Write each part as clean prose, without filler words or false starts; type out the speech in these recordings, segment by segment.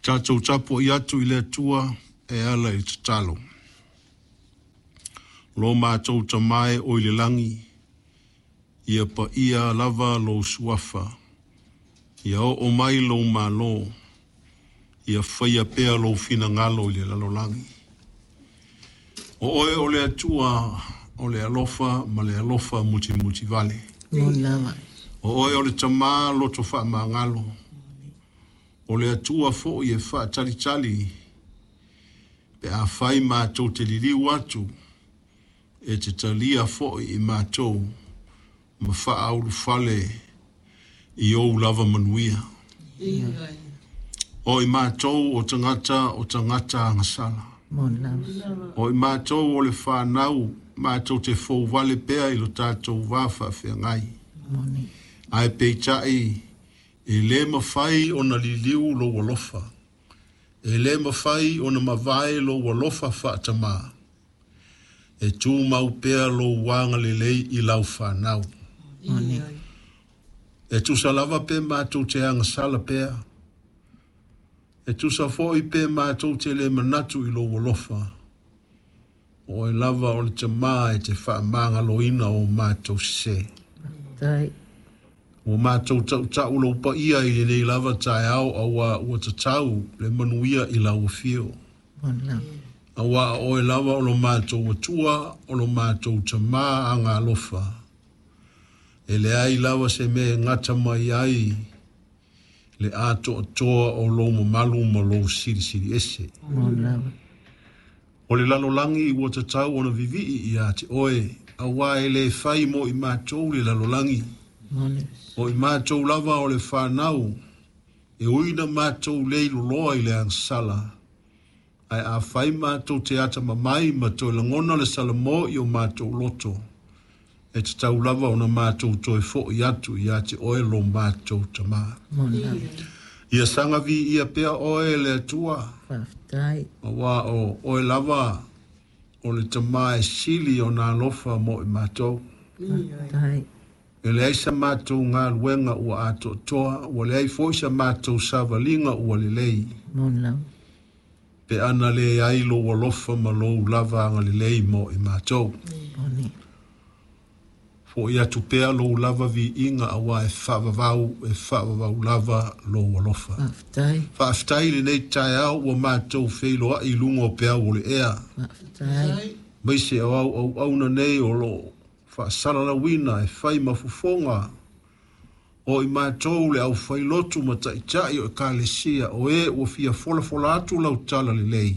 Tatou tapuai atu i le Atua e ala i le tatalo. Lo matou Tama e oi le lagi, ia paia lava lou suafa, ia oo mai lou malo, ia faia pea lou finagalo i le lalolagi. O oe o le Atua o le alofa ma le alofa mutimutivale. Moni lava. O oe o le Tama loto faamagalo, o le Atua foi e faatalitali pe afai matou te liliu atu, e te talia foi i matou ma faaulufale i ou lava manuia. O i matou o tagata o tagata agasala. Moni lava. O i matou o le fanau, matou te fouvale pea i lo tatou va faafeagai. Moni. Ae peitai, e le mafai ona liliu lou alofa, e le mafai ona mavae lou alofa faatamā, e tumau pea lou agalelei i lau fanau. Moni. E tusa lava pe matou te agasala pea, e tusa foi pe matou te le manatu i lou alofa, o oe lava o le Tama e te faamagaloina o matou sese. Tai. Ua matou tautau lou paia i lenei lava taeao, auā ua tatau le manuia i lau afio. Moni lava. Auā o oe lava o lo matou Atua, o lo matou Tama agalofa. E leai lava se mea e gata mai ai le atoatoa o lou mamalu ma lou silisili ese. Moni lava. O le lalolagi ua tatau ona vivii ia te oe, auā e le fai mo i matou le lalolagi. Moni. O i matou lava o le fanau, e ui na matou le iloloa i le agasala, ae afai matou te atamamai ma toe lagona le salamo i o matou loto, e tatau lava ona matou toe foi atu ia te oe lo matou Tama. Moni lava. Ia saga viia pea oe le Atua, Faafetai. auā o oe lava o le Tama e sili ona alofa mo i matou. Faafetai. E leai sa matou galuega ua atoatoa, ua leai foi sa matou savaliga ua lelei, Moni lava. pe ana leai lou alofa ma lou lava agalelei mo i matou. Moni. Foi atu pea lou lava viiga, auā e faavavau lava lou alofa. Faafetai. Faafetai lenei taeao ua matou feiloai i luga o peau o le ea. Faafetai. Maise o au auauna nei o loo faasalalauina e fai ma fofoga o i matou le aufailotu ma taitai o ekalesia o e ua fia folafola atu lau tala lelei.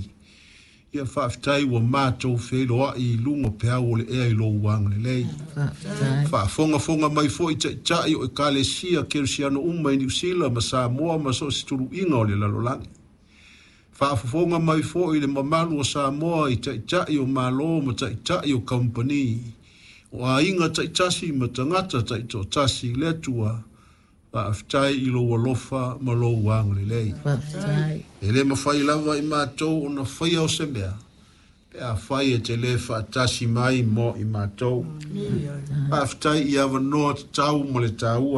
Ia faafetai ua matou feiloai i luga o peau o le ea i lou agalelei. Faafetai. Faafogafoga mai foi taitai o ekalesia kerisiano uma i Niu Sila ma Samoa ma so o se tuluiga o le lalolagi. Faafofoga mai foi le mamalu o Samoa i taitai o Malo ma taitai o kamupani, o aiga taitasi ma tagata taitoatasi, le Atua, faafetai i lou alofa ma lou agalelei. Faafetai. E le mafai lava i matou ona faia o se mea, pe afai e te le faatasi mai mo i matou. Faafetai i avanoa tatau ma le taua.